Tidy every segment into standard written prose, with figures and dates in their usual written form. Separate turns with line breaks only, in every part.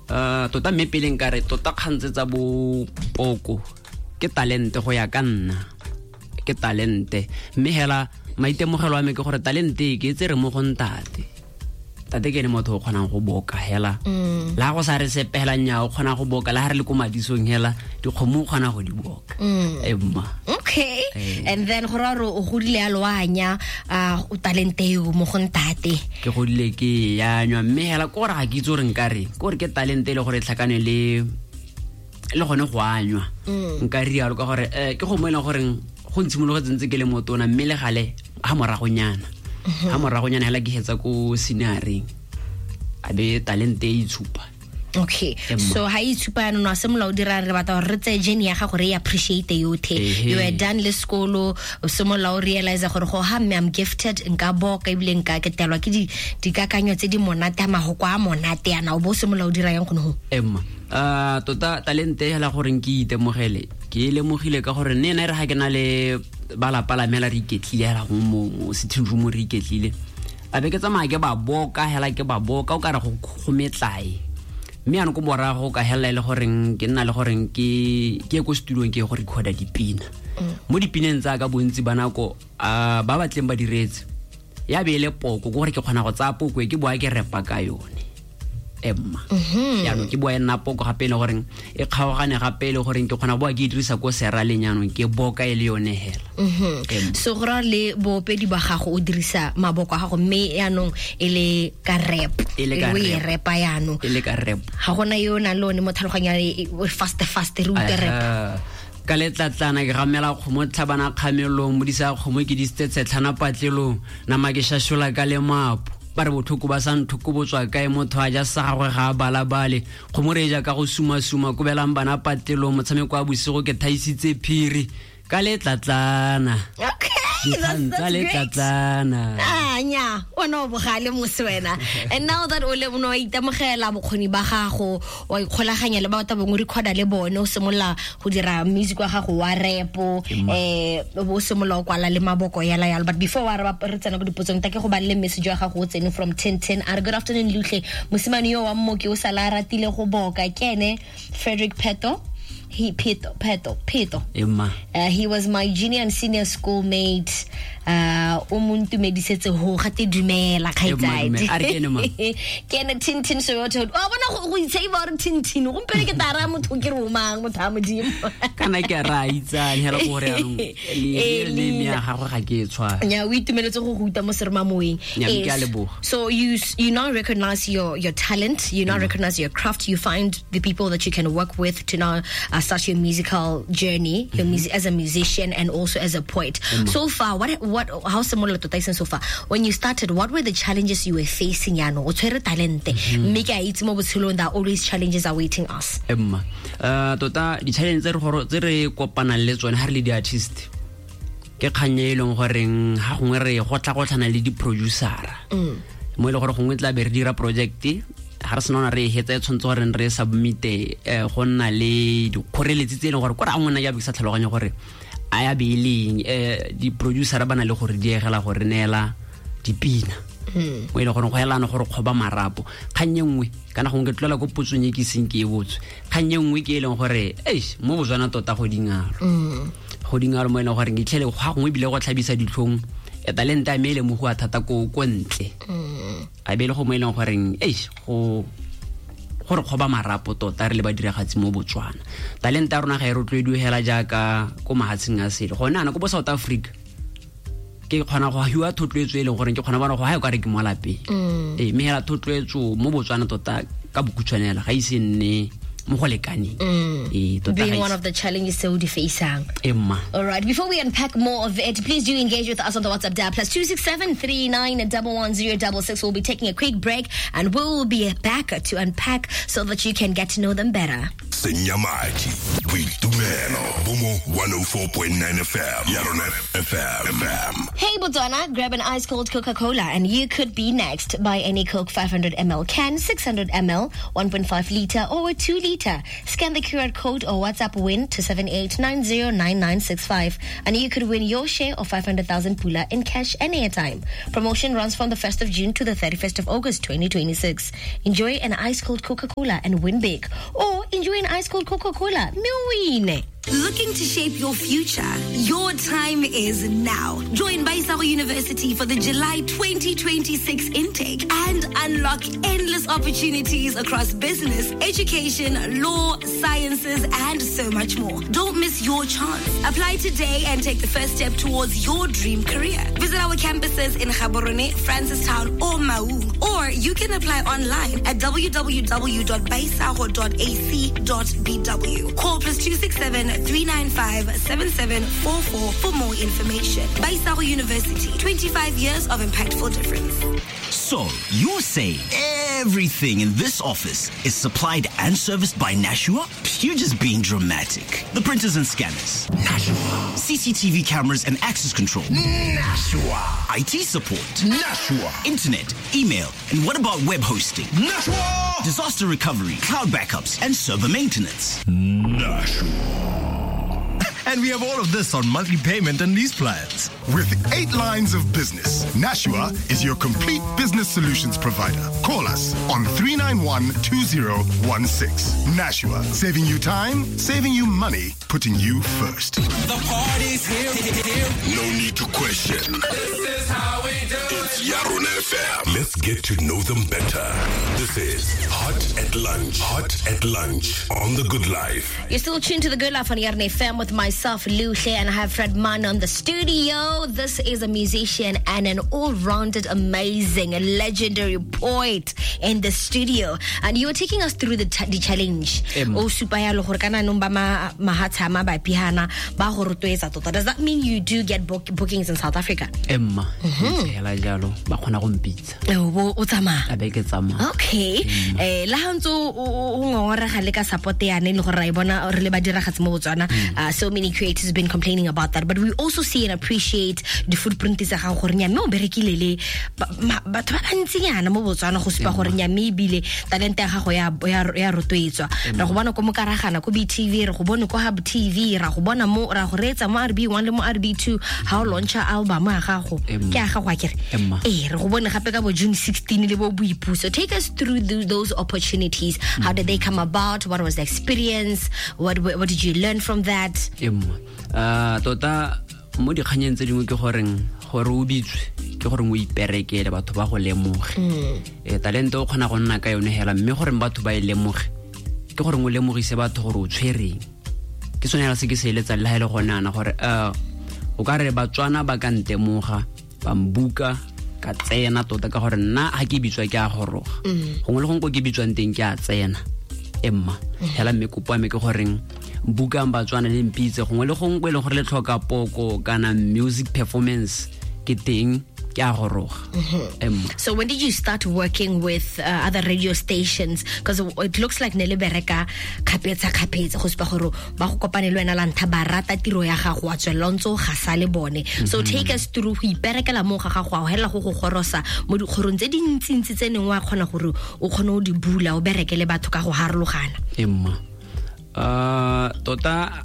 Tota mme pele nkare tota kgantse tsa bo poko ke talente go ya ka nna, ke talente. Mme hela maitemogelo a me ke gore talente ke tsere mo go ntate. Tate ke ene motho o kgonang go boka hela. La go sa re sepela nya o kgona go boka, la ha re le ko madisong hela dikgomo o kgona go di boka. Emma.
Okay. And then go ra re o godile ya loanya o talente eo mo go ntate.
Ke godile ke ya nywa mme hela ko re ga ke itse gore nka re, ko re ke talente le gore e tlhakane le gone go anywa. Nka rialo ka gore ke go mo e leng gore go ntshimologetse ntse ke le motona mme le gale ha moragonyana. Ha moragonyana hela ke hetsa ko senioreng a be talente e itshupa.
Okay. So ha itshupa yana no simolola o dira re batla gore re tseye journey ya gago re e appreciate yothe. You were done le sekolo, o simolola o realize gore go ha mme I'm gifted, nka boka ebile nka ketelwa ke dikakanyo tse di monate, a mahoko a monate yana, o bo simolola o dira yang gone ho?
Emma, tota talente hela gore ke itemogele, ke lemogile ka gore nne re ha ke na le ba lapa la me la re iketlile hela go mo sitting room re iketlile, a be ke tsamaya ke ba boka hela ke ba boka o ka re go metlae. Mme yanong ko morago ka hela e le goreng ke nna le goreng ke ko studio ke go recorda dipina. Mo dipineng tsa ka bontsi ba nako, ba batleng ba diretse ya be e le poko, ke gore ke kgona go tsaya poko e ke boa ke repa ka yone. Emma. Jaanong ke boa e nna poko gape e le goreng e kgaogane gape e le goreng ke kgona boa ke e dirisa ko seraleng jaanong ke boka e le yone hela. Emma.
So go raya le boopedi ba gago o dirisa maboko a gago mme jaanong e le ka rap.
E le ka
E le
rap.
repa jaanong.
E le ka rap.
Ga gona yo o nang le one mo tlhaloganyong e fast fast re utlwe rap.
Ka letlatlana ke gamela kgomo tlhabana kgamelong, modisa kgomo ke disitse tshetlhana patlelong, nama ke shashola ka lemapo. Ba re botlhoko ba sa nthoko bo tswa kae, motho a ja sa gagwe ga a balabale. Kgomo re e ja ka go suma-suma, kobelang bana patlelong, motshameko wa bosigo ke thaisitse phiri ka letlatlana.
Okay,
Dikgang
that's
tsa
great.
letlatlana.
Nya, wena o bogale mose wena. And now that o le o itemogela bokgoni ba gago, wa ikgolaganya le batho ba bangwe, recorda le bone, o simolola go dira music wa gago wa rap, o bo o simolola o kwala le maboko yala yalo. But before wa re tsena ko dipotsong, ta ke go balele message wa gago o tsene from 1010. A re good afternoon Luhle, mosimane yo wa mmoki o sala a ratile go boka, ke ene Frederick Pheto. He Pheto, Pheto, Pheto.
Emma.
He was my junior and senior schoolmate. O mo ntumedisetse ho gate dumela,
Emma,
kgaitsadi.
dumela. A re ke ene mang?
Ke ene Tintin Soweto. Wa bona go itsheiba gore Tintin. Gompieno ke tla raya motho ke re o mang, motho a Modimo.
Kana ke a re a itsane hela go gore jaanong le me ya gagwe ga ke e tshware.
Nya, o itumeletse go go utlwa mo seromamoweng.
Nya, ke a leboga.
So you now recognize your talent, you now recognize your craft, you find the people that you can work with to now start your musical journey, your music as a musician and also as a poet. So far, how simolola tota iseng so far? When you started, what were the challenges you were facing yaanong? O tshwere talente, mme ke a itse mo botshelong there are always challenges awaiting us.
Emma, tota di-challenge tse re kopanang le tsone ha re le di-artist ke kgang e leng goreng ha gongwe re gotla-gotlhana le di-producer-a. Mo e leng gore gongwe tla be re dira project, ha re sena re e hetsa e tshwanetse gore re submit-e, go nna le dikgoreletsi tse e leng gore kore a ngwana ya be ke sa tlhaloganye gore a ya be e leng, di-producer ba na le gore diegela gore neela dipina. Mo e leng gore go helana gore kgoba marapo. Kgang e nngwe, kana gongwe ke tlola ko potsong e ke iseng ke e botswe. Kgang e nngwe ke e leng gore, eish, mo Botswana tota go dingalo. Go dingalo mo e leng gore ke itlhele ga gongwe ebile go tlhabisa ditlhong, talente ya me e lemogiwa thata ko ntle. A be e le go mo e leng goreng, eish, go re kgoba marapo tota re le badiragatsi mo Botswana. Talente ya rona ga e rotloediwe hela jaaka ko mahatsheng a sele. Gone ana ko bo South Africa, ke kgona go hiwa thotloetso e leng gore ke kgona bona go ha e ka re ke mo lapeng. Mme hela thotloetso mo Botswana tota ka bokhutshwane hela ga ise nne mo go lekaneng. Tota
Being
ga ise
one of the challenges tse o di facing.
Emma.
All right, before we unpack more of it, please do engage with us on the WhatsApp dial +267 39 11 066. We'll be taking a quick break and we'll be back to unpack so that you can get to know them better.
Senya madi. Boitumelo bo mo 104.9 FM. Ya rona FM.
Hey Botswana, grab an ice cold Coca-Cola and you could be next. Buy any Coke 500 ml can, 600 ml, 1.5 liter or a 2 liter. Scan the QR code or WhatsApp WIN to 78909965 and you could win your share of 500,000 pula in cash and airtime. Promotion runs from the 1st of June to the 31st of August 2026. Enjoy an ice cold Coca-Cola and win big. Or enjoy an ice cold Coca-Cola. Win.
Looking to shape your future? Your time is now. Join Baisago University for the July 2026 intake and unlock endless opportunities across business, education, law, sciences, and so much more. Don't miss your chance. Apply today and take the first step towards your dream career. Visit our campuses in Gaborone, Francistown, or Maung, or you can apply online at www.baisago.ac.bw. Call +267 395 7744 for more information. Baisago University, 25 years of impactful difference.
So, you're saying everything in this office is supplied and serviced by Nashua? You're just being dramatic. The printers and scanners.
Nashua.
CCTV cameras and access control.
Nashua.
IT support.
Nashua.
Internet, email, and what about web hosting?
Nashua.
Disaster recovery, cloud backups, and server maintenance.
Nashua.
And we have all of this on monthly payment and lease plans.
With 8 lines of business, Nashua is your complete business solutions provider. Call us on 391-2016. Nashua, saving you time, saving you money, putting you first.
The party's here.
No need to question.
This is how we do it.
It's Yarona FM. Let's get to know them better. This is Hot at Lunch. Hot at Lunch on The Good Life.
You're still tuned to The Good Life on Yarona FM with myself, Luhle, and I have Fred Mann on the studio. This is a musician and an all-rounded, amazing, legendary poet in the studio. And you were taking us through the challenge. O supa yalo gore kana nong ba mahatsha ma ba pihana ba go rotloetsa tota. Does that mean you do get bookings in South Africa?
Emma, hela jalo ba kgona go mpitsa.
O tsamaya.
A be ke tsamaya.
Okay. La ha ntse o ngongorega le ka support yane le gore ra e bona re le ba diragatse mo Botswana. So many creators have been complaining about that, but we also see and appreciate the footprint tsa gago gore nya mme o berekile le batho ba bantsinyana mo Botswana go supa gore nya mme ebile talente ya gago ya rotloetswa. Ra go bona ko Mokaragana ko BTV, re go bone ko Hub TV, ra go bona mo ra go reetsa mo RB1 le mo RB2 ha o launcha album ya gago. Ke ya gago akere. Re go bone gape ka bo June 16 le bo Boipuso. Take us through those opportunities. How did they come about? What was the experience? What did you learn from that?
Tota mo dikganyeng tse dingwe ke goreng gore o bitswe ke gore o iperekele batho ba go lemoge. Talente o kgona go nna ka yone hela mme gore batho ba e lemoge ke gore o lemogise batho gore o tshwereng. Ke sone hela se ke se eletsang le ha e le gone ana gore o ka re Batswana ba ka ntemoga ba mbuka ka tsena tota ka gore nna ha ke bitswa ke a goroga. Gongwe le gongwe ko ke bitswang teng ke a tsena. Emma hela mme kopo ya me ke goreng bukang Batswana le mpitse gongwe le gongwe e leng gore le tlhoka poko kana music performance ke teng ke a goroga. Emma.
So when did you start working with other radio stations? Because it looks like ne le bereka khapetsa khapetsa go supa gore ba go kopane le wena la ntha ba rata tiro ya gago wa tswela ntse o gasa le bone. So take us through go iperekela mo ga gago a hela go go gorosa mo dikgorong tse dintsintsi tse neng wa kgona gore o kgone o di bula o bereke le batho ka go harologana.
Emma. Tota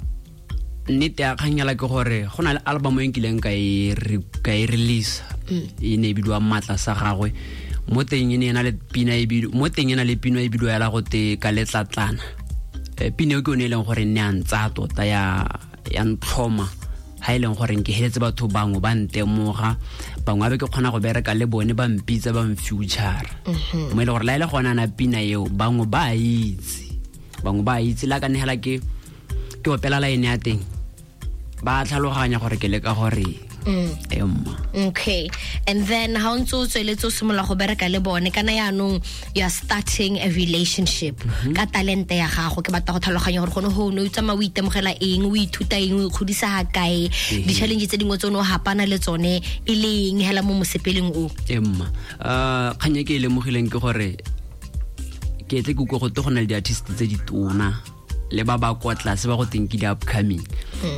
nnete ya kganyela ke gore go na le album e nkileng ka e release e ne e bidiwa Matla sa gagwe. Mo teng e ne e na le pina e bidiwa mo teng e na le pina e bidiwa ya go te ka letlatlana. Pina eo ke yone e leng gore ne a ntsa tota ya ntlhoma ha e leng gore ke heletse batho bangwe ba ntemoga bangwe ba ke kgona go bereka le bone ba mpitsa ba mfuture. Mo e leng gore la ile gona na pina eo bangwe ba itse la ka nehela ke opela line ya teng ba tlhaloganya gore ke leka gore Emma.
Okay. And then how ntse o tsweletse o simolola go bereka le bone kana yaanong you are starting a relationship ka talente ya gago ke batla go tlhaloganya gore gone ho no o tsamaya o itemogela eng o ithuta eng o ikgodisa ga kae di-challenge tse dingwe tse o ne o hapana le tsone e le eng hela mo mosepeleng o.
Emma. Kganya ke e lemogileng ke gore ke tle ke utlwe go te go na le di-artist tse di tona Le ba ba kwa tlase ba go teng ke di-upcoming.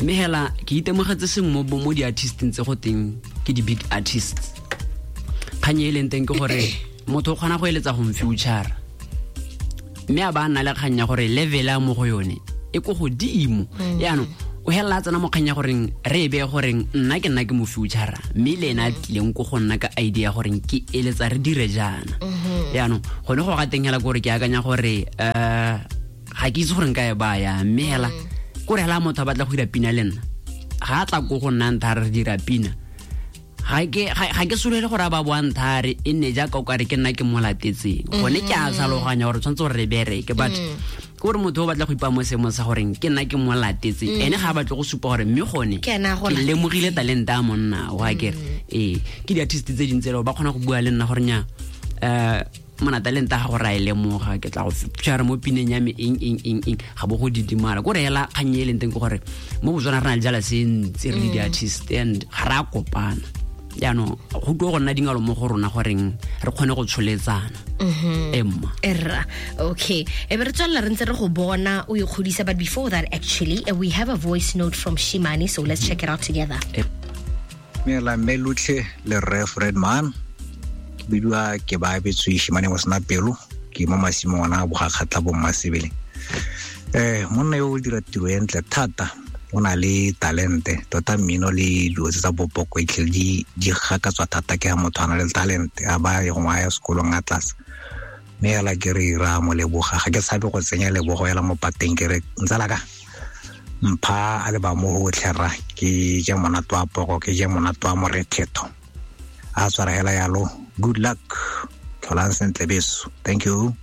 Mme hela ke itemogetse sengwe mo di-artisteng tse go teng ke di-big artists. Kgang e leng teng ke gore motho o kgona go eletsa go mfuture, mme a ba nna le kgang ya gore level a mo go yone e ko godimo. Yaanong o helela a tsena mo kgang ya goreng re e beye goreng nna ke nna ke mo futura, mme le ena a tlileng ko go nna ka idea goreng ke eletsa re dire jaana. Yaanong gone go ga teng hela ke gore ke akanya gore ga ke itse gore nka e baya, mme hela kore hela motho a batla go dira pina le nna, ga a tla ko go nna ntha re dira pina, ga ke solele gore a ba boa nthare e nne jaaka o kare ke nna ke mo latetseng. Gone ke a tlhaloganya gore tshwanetse gore re bereke, but ke gore motho o batla go ipa mo seemong sa goreng ke nna ke mo latetseng, ene ga a batle go supa gore mme gone
Ke ena a go
ke
latetseng.
lemogile talente a monna wa kere. Ee, ke di-artist tse dintsi ele ba kgona go bua le nna gore nya mona talente a gago ra e lemoga, ke tla go feature mo pineng ya me eng eng eng eng, ga bo go didimala. Kore hela kgang e leng teng ke gore mo Botswana re na le jala se ntsi re le di-artist and ga re a kopana. Jaanong go tlo go nna dingalo mo go rona goreng re kgone go tsholetsana. Emma.
Erra, okay, e be re tswelela re ntse re go bona o ikgodisa, but before that actually, we have a voice note from Shimane, so let's check it out together.
Mela mme lotlhe le rre Fred Man, ke bidiwa ke ba abetswe Shimane mo sena pelo, ke mo masimong ona a Bogakgatla bo Mmasebele. Monna yo o dira tiro e ntle thata, o na le talente tota, mmino le dilo tse tsa popoko e tlhele di gakatswa thata ke ha motho a na le talente, a ba ye gongwe a ya sekolong a tlase. Mme hela ke re ra mo leboga, ga ke tshabe go tsenya lebogo hela mo pateng, ke re ntsala ka mpha a le ba mo gotlhe rra, ke je monate wa poko, ke je monate wa morethetho. A tshwara hela yalo, good luck, tlholang sentle beso, thank you.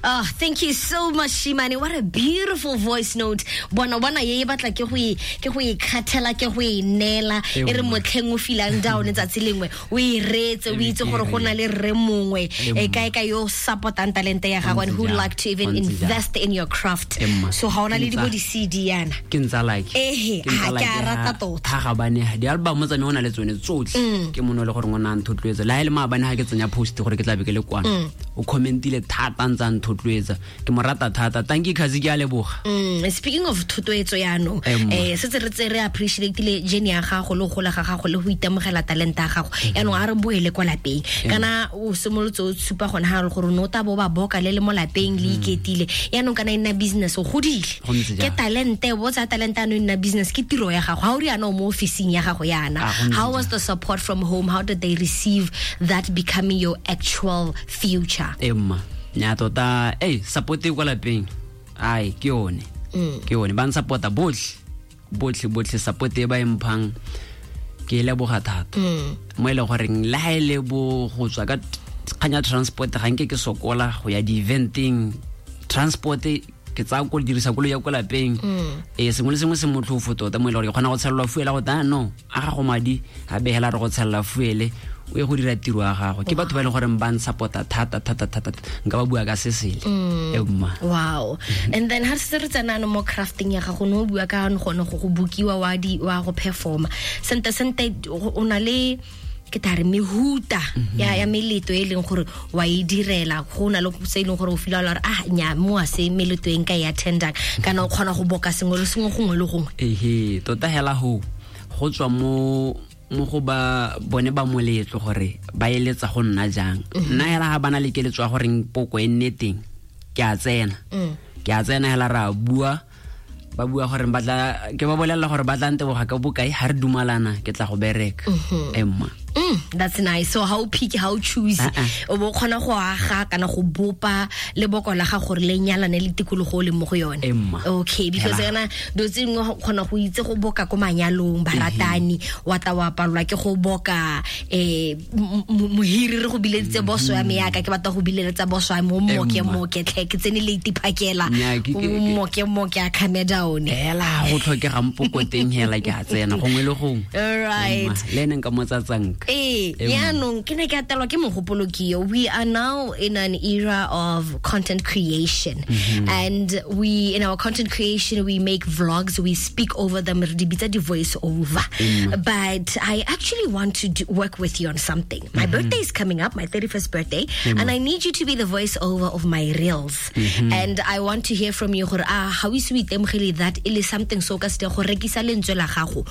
Oh, thank you so much, Shimane. What a beautiful voice note. Bona bona ye e batla ke go e ke go e khathela, ke go e neela. E re motlheng o feelang down letsatsi lengwe, o e reetse, o itse gore go na le rre mongwe, e kae ka yo supportang talente ya gago and who like to even invest in your craft. So ga ona le di bo di CD yana.
Ke ntsa like.
Ehe, ha ke a rata tota.
Ha ga bane di album tsa me o na le tsone tsotlhe. Ke mono le gore ngwana a nthotloetsa. Le ha e le maabane ha ke tsenya post gore ke tla be ke le kwana. O commentile thata ntsa nthotloetsa, ke mo rata thata. Thank you Khazi, ke a leboga.
Speaking of thotloetso yaanong, setse re tse re appreciate le journey ya gago le go gola ga gago le go itemogela talente ya gago. Yaanong a re boele kwa lapeng, kana o simolotse o tshupa gone ha re gore no ta bo ba boka le le mo lapeng le iketile. Yaanong kana e nna business, o godile.
Go ntse
Ke
jalo.
talente, bo tsa talente ano e nna business, ke tiro ya gago. Ha o riana o mo officing ya gago yana.
Ah, go ntse
How was
jalo.
the support from home? How did they receive that becoming your actual future?
Emma, nya tota, support e kwa lapeng. Ai, ke yone. Ke yone, ba nsupporta botlhe. Botlhe, botlhe support e ba e mphang, ke e leboga thata. Mo e leng goreng le ha e le bo go tswa ka kgang ya transport, ga nke ke sokola go ya di-eventeng. Transport ke tsaya ko dirisa koloi ya ko lapeng. Sengwe le sengwe se motlhofo tota, mo e leng gore ke kgona go tshelelwa fuel go ta no, a gago madi a behela re go tshelela fuel, o ye go dira tiro ya gago. Ke batho ba e leng gore ba nsupporta thata, thata, thata, thata. Nka ba bua ka se sele. Emma.
Wow. And then ha se re tsena no mo crafting ya gago, no bua ka gone go bokiwa wa di wa go performa. Sente sente o na le ke tla re mehuta ya meleto e leng gore wa e direla, go na le se e leng gore o feel gore ah nya mo a se meleto e nka e attendang, kana o kgona go boka sengwe le sengwe gongwe le gongwe.
Ehe, tota hela ho tswa mo go ba bone ba moletlo gore ba eletsa go nna jang. Nna hela ha bana le keletso ya gore poko e nne teng, ke a tsena. Ke a tsena hela ra bua, ba bua gore ba tla, ke ba bolella gore ba tla nteboga ka bokae, ha re dumalana ke tla go bereka. Emma.
That's nice. So how pick, how choose,
Uh-uh.
o bo kgona go aga kana go bopa leboko la gago gore le nyalane le tikologo o leng mo go yone.
Emma.
Okay, because
Hela.
kana dilo tse dingwe go kgona go itse go boka ko manyalong, baratani, wa tla wa palelwa ke go boka, mohiri re go bileditse boso ya me yaka, ke batla go bileletsa boso ya me, o mmoke,
Emma.
mmoke, tlhe, ke tsene late phakela.
Nnyaa,
O mmoke, mmoke, a come down.
Hela, go tlhokegang poko teng hela ke a tsena gongwe le gongwe.
All right.
Emma, le ene nka mo tsatsanka.
Ee, yaanong ke ne ke atelwa ke mogopolo ke yo. We are now in an era of content creation, and we in our content creation we make vlogs, we speak over them, re di bitsa di-voice over. But I actually want to work with you on something. My birthday is coming up, my 31st birthday, and I need you to be the voice over of my reels. And I want to hear from you gore ah, ga o ise o itemogele that e le something so o ka se dirang go rekisa lentswe la gago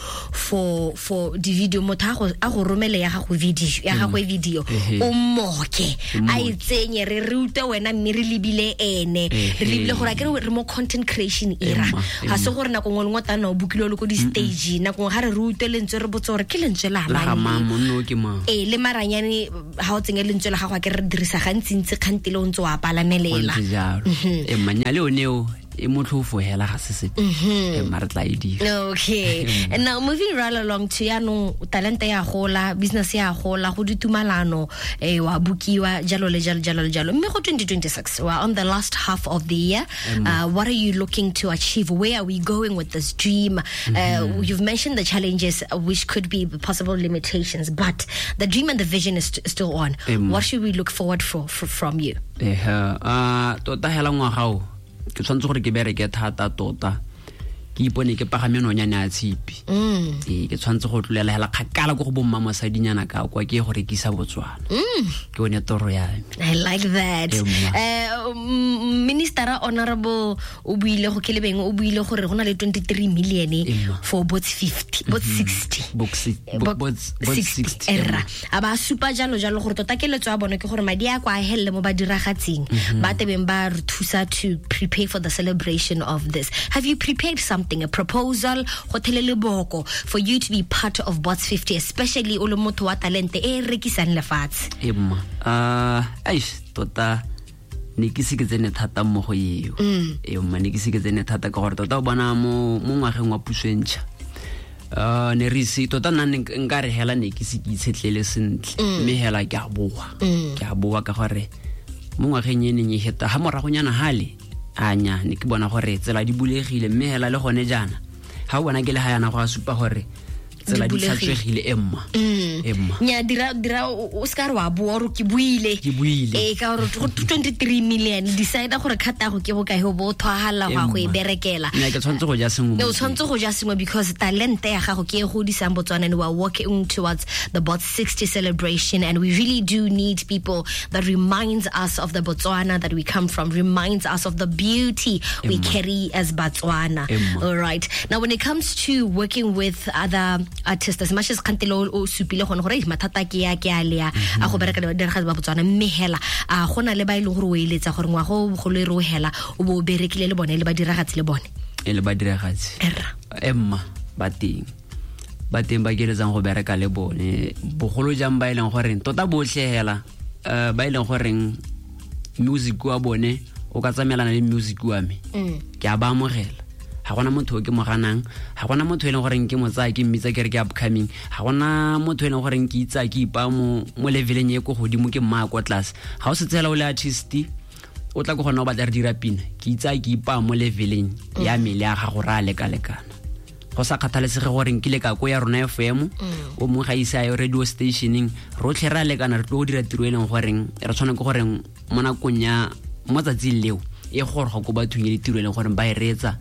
for di-video, motho a go romele ya gago video, ya gagwe video, o moke a e tsenye, re rute wena, mme re lebile ene, re lebile gore a kere re mo content creation era. Ga se gore nako nngwe le nngwe tana o bokile o le ko di-stage, nako nngwe ga re rute lentswe, re botse gore ke lentswe la
La ga
mang
mang,
le?
Monna o ke mang?
Ee, le maranyane ga o tsenye lentswe la gago, a ke re dirisa gantsintsi kgantele o ntse o a
Go
palamelela.
ntse jalo. E manya le one eo e motlhofo hela, ga se sepe. E mma, re tla e dira.
Okay, and now moving right along to yaanong talente ya gola, business ya gola, go ditumalano, wa bukiwa, jalo le jalo, jalo le jalo, mme go 2026, we're on the last half of the year. What are you looking to achieve? Where are we going with this dream? You've mentioned the challenges, which could be possible limitations, but the dream and the vision is still on. What should we look forward for from you?
Ehe, a tota hela ngwaga o ke tshwanetse gore ke bereke thata tota, ke ipone ke pagame nonyane ya tshipi. Ee, ke tshwanetse go tlolela hela kgakala ko go bomma mosadinyana ka kwa, ke ye go rekisa Botswana. Ke one toro ya me.
I like that.
Ee, mma.
Minister Honorable o buile go kelebeng, o buile gore go na le 23 million
Ee, mma.
for bots 50, bots 60.
Box bots
60,
60,
erra a ba supa jalo jalo gore tota keletso ya bone ke gore madi a kwa a helele mo badiragatsing ba tebeng ba re thusa to prepare for the celebration of this. Have you prepared something, a proposal go thele leboko for you to be part of Bots 50, especially o le motho wa talente e e rekisang lefatshe?
E mma, aish, tota ne ke se ke tsene thata mo go eo. E mma, ne ke se ke tsene thata ka gore tota o bona mo ngwageng wa puso e ntšha, ne re ise tota nna nka re hela ne ke se ke itshetlele sentle, mme hela ke a boa, ke a boa ka gore mo ngwageng e neng e heta ga moragonyana gale anya ne ke bona gore tsela di bulegile, mme hela le gone jaana ga o bona ke le ga yana go a supa gore tsela
Di
di
bulegile.
tlhatswegile. Emma, emma.
Nya, dira o se ka re wa boa ore ke buile.
Ke buile.
Ee, ka gore go 23 million, decide gore kgata go ke bokae, o bo o thwagala go ya go e
Emma.
berekela.
Nna ke tshwanetse go ja sengwe mo
O tshwanetse go ja sengwe because talente ya gago ke e godisang Botswana, and we are working towards the Bot 60 celebration, and we really do need people that reminds us of the Botswana that we come from, reminds us of the beauty we carry as Botswana.
Emma.
All right, now when it comes to working with other artists, as much as kgantele o supile gone gore "Ei, mathata ke ya ke a lea a go bereka le badiragatsi ba Botswana, mme hela a gona le ba e leng gore o eletsa gore ngwaga o bogolo e re o hela o bo o berekile le bone, le badiragatsi le bone?
E le badiragatsi?
Erra.
Emma, ba teng ba keletsang go bereka le bone, bogolo jang ba e leng goreng tota botlhe hela, ba e leng goreng music wa bone o ka tsamaelana le music wa me, ke a ba amogela. Ga gona motho o ke mo ganang, ga gona motho e leng goreng ke mo tsaya ke mmitsa ke re ke upcoming, ga gona motho e leng goreng ke itsaya ke ipaya mo leveleng e ko godimo, ke mmaya kwa tlase. Ga o setse hela o le artist, o tla ko gona o batla re dira pina, ke itsaya ke ipaya mo leveleng ya mele ya gago, re a lekalekana, go sa kgathalesege gore nkile ka ko ya rona FM, o mongwe ga ise a ye radio stationeng, rotlhe re a lekana, re tlo go dira tiro e leng goreng re tshwane ke goreng mo nakong ya mo tsatsing leo e goroga ko bathong, e le tiro e leng goreng ba e reetsa,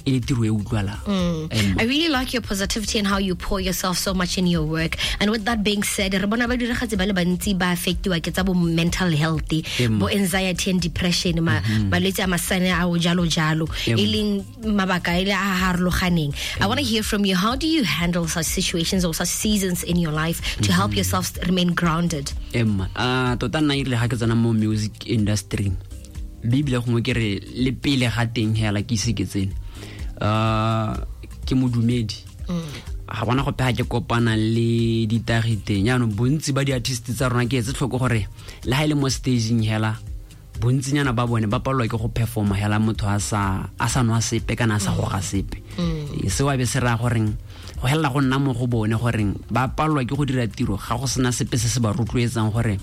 e le tiro e utlwalang. Emma.
I really like your positivity and how you pour yourself so much in your work. And with that being said, re bona ba diragatsi ba le bantsi ba affectiwa ke tsa bo mental health,
Emma.
bo anxiety and depression, malwetse a masane a o jalo jalo,
Emma.
e leng mabaka e le a harologaneng. I want to hear from you. How do you handle such situations or such seasons in your life to help yourself remain grounded?
Emma, a tota nna erile ga ke tsena mo music industry, mme ebile gongwe ke re le pele ga teng hela ke ise ke tsene, ke modumedi, ga gona gope ga ke kopana le ditagi teng. Jaanong bontsi ba di-artist tsa rona, ke etse tlhoko gore le ga e le mo stageng hela, bontsinyana ba bone ba palelwa ke go performa hela motho a sa nwa sepe kana a sa goga sepe. Ee, seo a be se raya goreng go helela go nna mo go bone goreng ba palelwa ke go dira tiro ga go sena sepe se se ba rotloetsang gore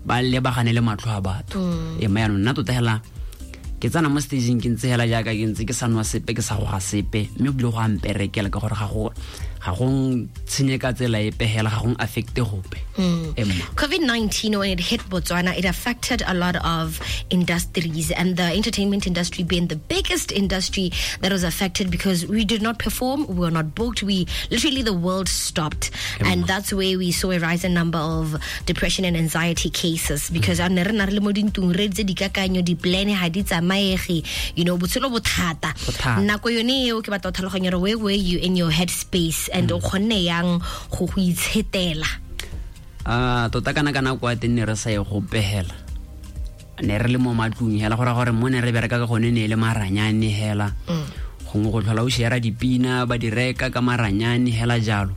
ba lebagane le matlho a batho. Ee, mme yaanong nna tota hela ke tsena mo stageng ke ntse hela jaaka ke ntse ke sa nwa sepe, ke sa goga sepe, mme ebile go a mperekela ka gore ga go Ga gong tshenye ka tsela epe hela, ga gong affecte gope. Emma.
COVID-19, when it hit Botswana, it affected a lot of industries, and the entertainment industry being the biggest industry that was affected, because we did not perform, we were not booked, we literally, the world stopped. And that's where we saw a rising number of depression and anxiety cases, because a ne re na re le mo dintlong, re tse dikakanyo, di-plan ha di tsamaege, botshelo bo thata.
Bo thata.
Nako yone eo ke batla go tlhaloganya gore where were you in your head space and o kgonne yang go itshetela?
A tota kana ka nako ya teng ne re sa ye gope hela, ne re le mo matlong hela, go raya gore mo ne re bereka ka gone ne e le maranyane hela. Gongwe go tlhola o share dipina, ba di reka ka maranyane hela jalo.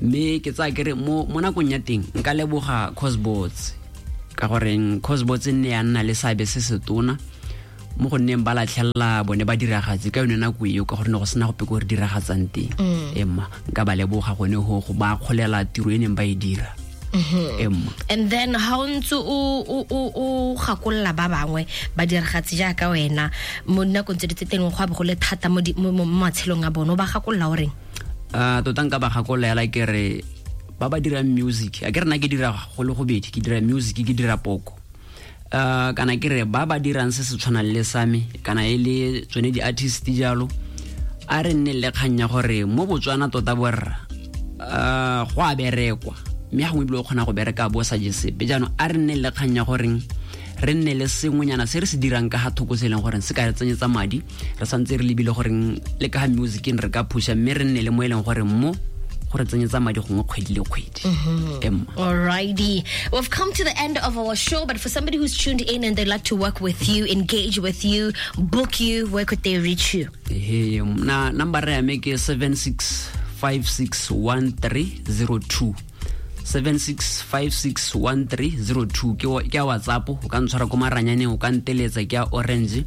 Mme ke tsaya kere mo nakong ya teng nka leboga Cosbots, ka goreng Cosbots e nne ya nna le seabe se se tona mo go nneng ba latlhelela bone ba diragatse ka yone nako eo, ka gore ne go sena gope ko re diragatsang teng. Emma, nka ba leboga gone go ba akgolela tiro e neng ba e dira. Emma.
And then ha o ntse o gakolola ba bangwe ba diragatse jaaka wena mo dinakong tse di tse teng, go a bo go le thata mo matshelong a bone, o ba gakolola o reng?
Tota nka ba gakolola hela ke re ba ba dirang music, a ke re nna ke dira go le gobedi, ke dira music, ke dira poko. Kana ke re ba ba dirang se se tshwanang le sa me, kana e le tsone di-artist jalo, a re nne le kgang ya gore mo Botswana tota borra, go a berekwa, mme gongwe ebile o kgona go bereka bo sa je sepe. Jaanong a re nne le kgang ya goreng re nne le sengwenyana se re se dirang ka ga thoko, se e leng gore se ka re tsenyetsa madi, re santse re lebile goreng le ka ga musiceng re ka pusha, mme re nne le mo e leng gore mo go re tsenyetsa madi gongwe kgwedi le kgwedi. Emma.
Alrighty. We've come to the end of our show, but for somebody who's tuned in and they'd like to work with you, engage with you, book you, where could they reach you?
Ehe, na number ya me ke 76561302. 76561302 ke ya WhatsApp, o ka ntshwara ko maranyaneng, o ka nteletsa, ke ya Orange,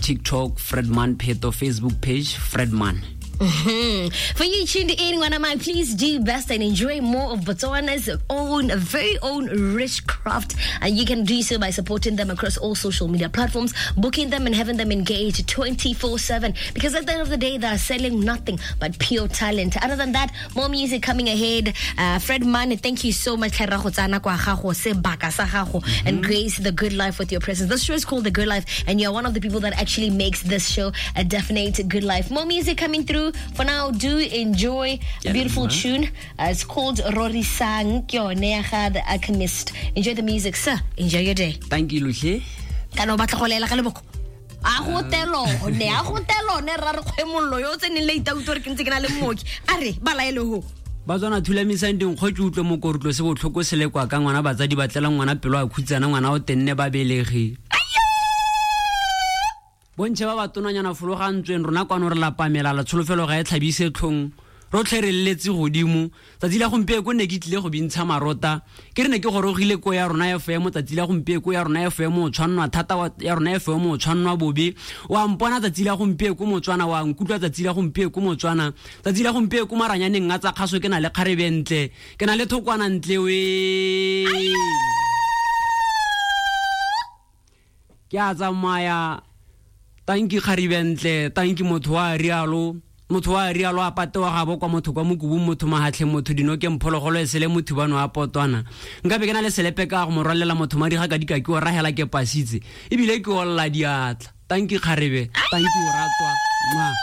TikTok Fredman Pheto, Facebook page Fredman.
For you tuned in, Ngwanamai, please do best and enjoy more of Botswana's very own rich craft. And you can do so by supporting them across all social media platforms, booking them and having them engaged 24/7. Because at the end of the day, they are selling nothing but pure talent. Other than that, more music coming ahead. Fredman, thank you so much. Tlhe ra go tsaya nako ya gago, sebaka sa gago, and grace the good life with your presence. This show is called The Good Life, and you're one of the people that actually makes this show a definite good life. More music coming through. For now, do enjoy a beautiful tune. It's called Rorisang ke yone ya ga The Alchemist. Enjoy the music, sir. Enjoy your day.
Thank you, Luhle.
Kana o batla go lela ka leboko? A go telone, a go telone, ra re kgwemollo yo o tseneng le ita utlwe gore ke ntse ke na le mooki. A re, ba laele ho.
Ba tswana thulamisang dinkgo ke utlwe mokorotlo se botlhoko se le kwa ka ngwana, batsadi ba tlela ngwana pelo a khutsana, ngwana o tenne ba belegi. Bontšhe ba ba tonanyana fologantsweng rona kwano re lapa melala, tsholofelo ga e tlhabise tlhong, rotlhe re leletse godimo. Tsatsi la gompieko ne ke tlile go bintsha marota, ke re ne ke gorogile ko ya rona FM, tsatsi la gompieko ya rona FM o tshwannwa thata wa, ya rona FM o tshwannwa bobe. Wa mpona tsatsi la gompieko Motswana, wa nkutlwa tsatsi la gompieko Motswana. Tsatsi la gompieko maranyaneng a tsa kgaso ke na le kgarebe ntle, ke na le thokwana ntle we. Ke a tsamaya. Tanki kgarebe ntle, tanki motho wa rialo, motho wa rialo a patewa gabo kwa motho kwa mokubung, motho mahatlhe, motho dinokeng, phologolo e sele motho bano a potwana. Nka be ke na le selepe ka go mo rwalela motho madi ga ka dika ke o rahela ke pasitse, ebile ke olla diatla. Tanki kgarebe, tanki o ratwa. Mwah.